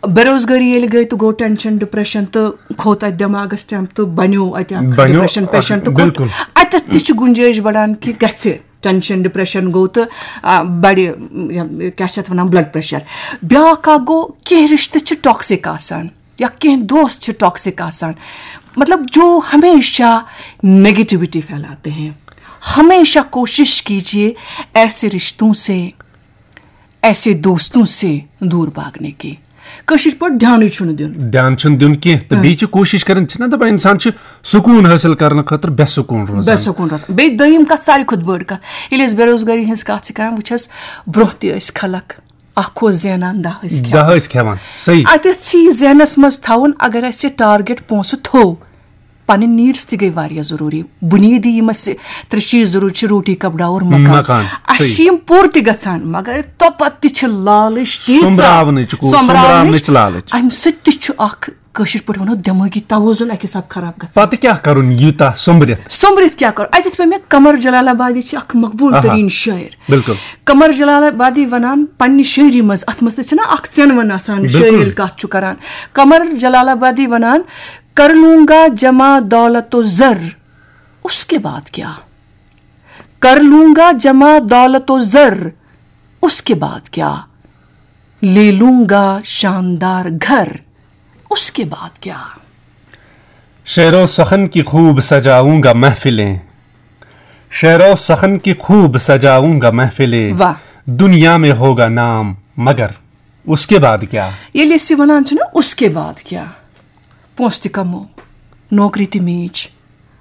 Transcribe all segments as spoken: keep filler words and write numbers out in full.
بے روزگٲری ییٚلہِ گٔے تہٕ گوٚو ٹینشن، ڈپریشن تہٕ کھوٚت اتہِ دٮ۪ماغس ٹٮ۪مپ تہٕ بنیو اتہِ اکھ بنیو ڈپریشن اکھ، پیشنٹ تہٕ کھوٚت۔ بِلکُل۔ اتٮ۪تھ تہِ چھُ گُنجٲیِش بڑان کہِ گژھِ ٹینشن، ڈپریشن گوٚو تہٕ، آ، بڑِ، یہِ، کیٛاہ چھِ اتھ ونان، بلڈ پریشر۔ بیٛاکھ اکھ گوٚو، کینٛہہ رشتہٕ چھِ ٹاکسک آسان یا کینٛہہ دوست چھِ ٹاکسک آسان، مطلب، جو ہمیشہ نیگیٹیوٹی پھیلاتے ہیں۔ ہمیشہ کوشش کیجیے ایسے رشتوں سے، ایسے دوستوں سے دور بھاگنے کی۔ کٲشِر پٲٹھۍ دھیانٕے چھُنہٕ دیُن۔ دھیان چھُنہٕ دیُن کینٛہہ، تہٕ بیٚیہِ چھِ کوٗشِش کران، چھِنہ دَپان، اِنسان چھُ سکوٗن حٲصِل کرنہٕ خٲطرٕ بے سکوٗن بے روزان۔ سکوٗن روزان۔ بیٚیہِ دوٚیِم کَتھ، ساروی کھۄتہٕ بٔڑ کَتھ، ییٚلہِ أسۍ بے روزگٲری ہٕنٛز کَتھ چھِ کران، وٕچھ حظ، برٛونٛہہ تہِ ٲسۍ خلق، اَکھ اوس زینان، دَہ ٲسۍ کھٮ۪وان۔ دَہ ٲسۍ کھٮ۪وان، صحیح۔ اَتٮ۪تھ چھُ یہِ ذہنَس منٛز تھاوُن، اگر اَسہِ ٹارگیٹ پونٛسہٕ تھوٚو، پنٕنۍ نیٖڈٕس تہِ گٔے واریاہ ضروٗری۔ بُنیٲدی یِم اَسہِ ترٛےٚ چیٖز ضروٗرت چھِ، روٹی، کپڑا اور مکان۔ مکان، اَسہِ چھِ صحیح۔ یِم پوٗرٕ تہِ گژھان، مگر توٚپتہٕ تہِ چھِ لالٕچ تیٖژاہ۔ سۄمبراونٕچ کو-، سۄمبراونٕچ۔ سۄمبراونٕچ لالٕچ۔ اَمہِ سۭتۍ تہِ چھُ اکھ، کٲشِر پٲٹھۍ وَنو، دٮ۪مٲغی توازُن اَکہِ حساب خراب گژھان۔ پَتہٕ کیٛاہ کَرُن یوٗتاہ سۄمبرِتھ؟ سۄمبرِتھ کیٛاہ کَرُن؟ اَتٮ۪تھ پیٚو مےٚ قمر جلال آبادی چھِ اکھ مقبوٗل آہا۔ تریٖن شٲعر۔ بِلکُل۔ قمر جلال آبادی وَنان پننہِ شٲعری منٛز، اَتھ منٛز تہِ چھِنہ اکھ ژٮ۪نوَن آسان، بِلکُل۔ شٲعر ییٚلہِ کَتھ چھُ کَران۔ قمر جلال آبادی وَنان، کر لوں گا جمع دولت و زر، اس کے بعد کیا؟ کر لوں گا جمع دولت و زر، اس کے بعد کیا؟ لے لوں گا شاندار گھر، اس کے بعد کیا؟ شعر و سخن کی خوب سجاؤں گا محفلیں، شعر و سخن کی خوب سجاؤں گا محفلیں۔ واہ۔ دنیا میں ہوگا نام مگر اس کے بعد کیا؟ ییٚلہِ أسۍ یہِ وَنان چھِنہ، اس کے بعد کیا؟ پونٛسہٕ تہِ کَمو، نوکری تہِ میٖج،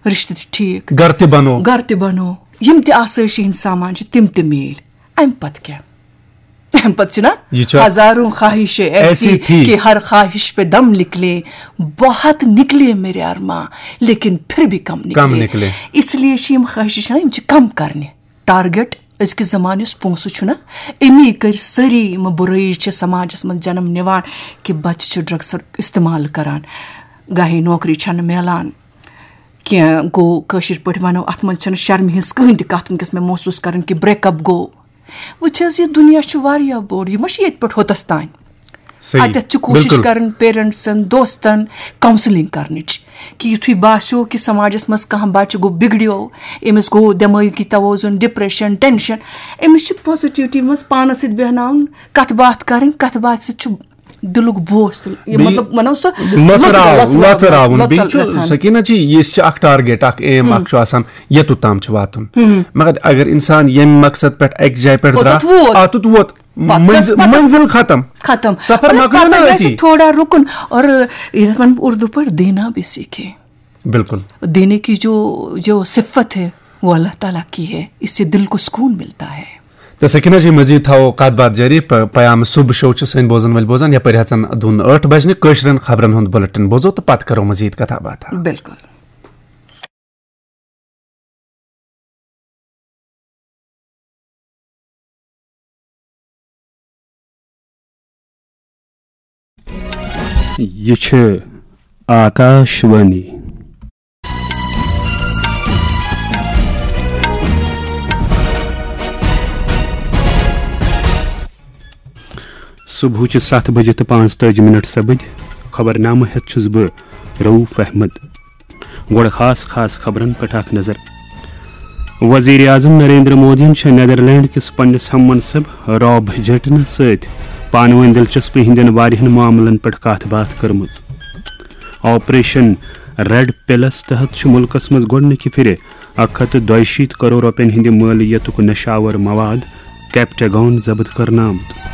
رِشتہٕ تہِ ٹھیٖک، گَرٕ تہِ بَنو۔ گَرٕ تہِ بَنو، یِم تہِ آسٲیشہِ ہِنٛدۍ سامان چھِ، تِم تہِ میٖلۍ۔ اَمہِ پَتہٕ کیٛاہ؟ اَمہِ پَتہٕ چھِنہ، یہِ چھُ ہزاروں خواہشیں ایسی ایسی تھی۔ کہ ہر خواہش پہ دم نکلے، بہت نکلے میرے ارماں، لیکن پھر بھی کم کم نکلے۔ نکلے۔ اس لیے چھِ یِم خواہشہٕ چھِنہ، یِم چھِ کَم کَرنہِ۔ ٹارگیٹ أزکِس زمانس پونٛسہٕ چھُنہ، امی کٔرۍ سٲری یِم بُرٲیی چھِ سماجس منٛز جنم نِوان کہِ بچہِ چھِ ڈرگسُک استعمال کران، گاہے نوکری چھنہٕ میلان کینٛہہ۔ گوٚو، کٲشِر پٲٹھۍ ونو، اتھ منٛز چھنہٕ شرمہِ ہٕنٛز کٕہٕنۍ تہِ کتھ وٕنکیٚس مےٚ محسوٗس کرٕنۍ کہِ بریک اپ گوٚو۔ وٕچھ حظ، یہِ دُنیا چھُ واریاہ بوٚڑ، یہِ ما چھُ ییٚتہِ پٮ۪ٹھ ہوٚتس تام۔ صحیح۔ اتٮ۪تھ چھِ کوٗشِش بِلکُل۔ کران پیرنٹسن، دوستن کاونسلنگ کرنٕچ کہِ یُتھُے باسیو کہِ سماجس منٛز کانٛہہ بچہِ گوٚو، بگڑیو، أمِس گوٚو دٮ۪مٲغی توازُن، ڈپریشن، ٹینشن، أمِس چھُ پازیٹیوٹی منٛز پانس سۭتۍ بیہناوُن، کتھ باتھ کرٕنۍ، کتھ باتھ سۭتۍ چھُ دِلُک بوس تہٕ یہِ بیٚیہِ مطلب ونو سُہ لۄژراو-، لۄژراو-، لۄژراوُن۔ بیٚیہِ چھُ لۄژراوُن۔ سکیٖنہ جی، یہِ چھِ اکھ ٹارگیٹ، اکھ ایم اکھ چھُ آسان، یوٚتُت تام چھُ واتُن۔ مگر اگر انسان ییٚمہِ مقصد پٮ۪ٹھ اکہِ جایہِ پٮ۪ٹھ اوٚتَتھ درٛاو، ووت۔ اوٚتُتھ ووت۔ پَتہٕ چھَس منزل، پَتہٕ منزل ختم۔ ختم۔ سفر مگر مۄکلیو پَتہٕ نہ گژھِ أتی۔ تھوڑا رُکُن اور یَتھ وَنہٕ بہٕ اردو پٲٹھۍ، دینا بھی سیکھے۔ بِلکُل۔ دینے کی جو، جو صفت ہے، وہ اللہ تعالیٰ کی ہے، اس سے دل کو سکون ملتا ہے۔ تہٕ سکیٖنہ جی، مزید تھاوو کتھ باتھ جٲری۔ پ-، پیام صبح شو چھِ سٲنۍ بوزن وٲلۍ بوزان، یپٲرۍ ہٮ۪ژن دُن ٲٹھ بجنہِ۔ کٲشرٮ۪ن خبرن ہُنٛد بُلٹن بوزو تہٕ پتہٕ کرو مزید کتھا باتھا۔ بِلکُل۔ یہِ چھِ آکاش وانی۔ صبحٕچہِ ستھ بجہِ تہٕ پانٛژتٲجی منٹ سپٕدۍ۔ خبرنامہٕ ہٮ۪تھ چھُس بہٕ رؤف احمد۔ گۄڈٕ خاص خاص خبرن پٮ۪ٹھ اکھ نظر۔ وزیر اعظم نریندر مودیَن چھےٚ نیدرلینڈ کِس پننِس ہم منصب راب جیٹنس سۭتۍ پانہٕ ؤنۍ دلچسپی ہٕنٛدٮ۪ن واریاہن معاملن پٮ۪ٹھ کتھ باتھ کٔرمٕژ۔ آپریشن ریڈ پلس تحت چھُ مُلکَس منٛز گۄڈٕنِکہِ پھِرِ اکھ ہتھ تہٕ دۄیہِ شیٖتھ کرور رۄپین ہٕنٛدِ مٲلیتُک نشہٕ آور مواد کیپٹاگون ضبط کرنہٕ آمُت۔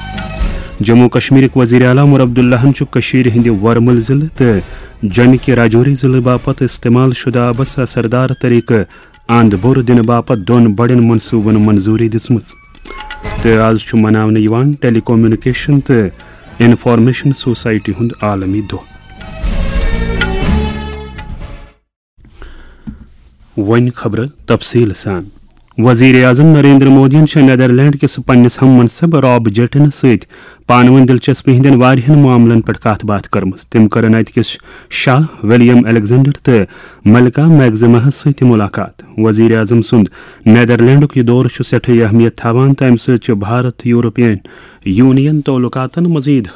جموں و کشمیرٕکۍ وزیر اعلیٰ عمر عبداللہَن چھُ کٔشیٖرِ ہٕنٛدِ ورمُل ضلعہٕ تہٕ جۄمہِ کہِ راجوری ضلعہٕ باپتھ استعمال شدہ آبس اثردار طریقہٕ اند بوٚر دِنہٕ باپتھ دۄن بڑٮ۪ن منصوٗبن منظوٗری دِژمٕژ۔ تہٕ آز چھُ مناونہٕ یِوان ٹیلی کمیونیکیشن تہٕ انفارمیشن سوسائٹی ہُنٛد عالمی دۄہ۔ وۄنۍ خبرٕ تفصیٖل سان۔ وزیر اعظم نریندر مودیَن چھےٚ نیدرلینڈ کِس پننِس ہم منصب راب جیٹنس سۭتۍ پانہٕ ؤنۍ دلچسپی ہٕنٛدٮ۪ن واریاہن معاملن پٮ۪ٹھ کتھ باتھ کٔرمٕژ۔ تٔمۍ کٔرٕن اتہِ کِس شاہ ولیم الیگزینڈر تہٕ ملکہ میگزماہس سۭتۍ تہِ مُلاقات۔ وزیر اعظم سُنٛد نیدرلینڈُک یہِ دورٕ چھُ سٮ۪ٹھٕے اہمیت تھاوان تہٕ امہِ سۭتۍ چھُ بھارت یورپین یونین تعلقاتن مزید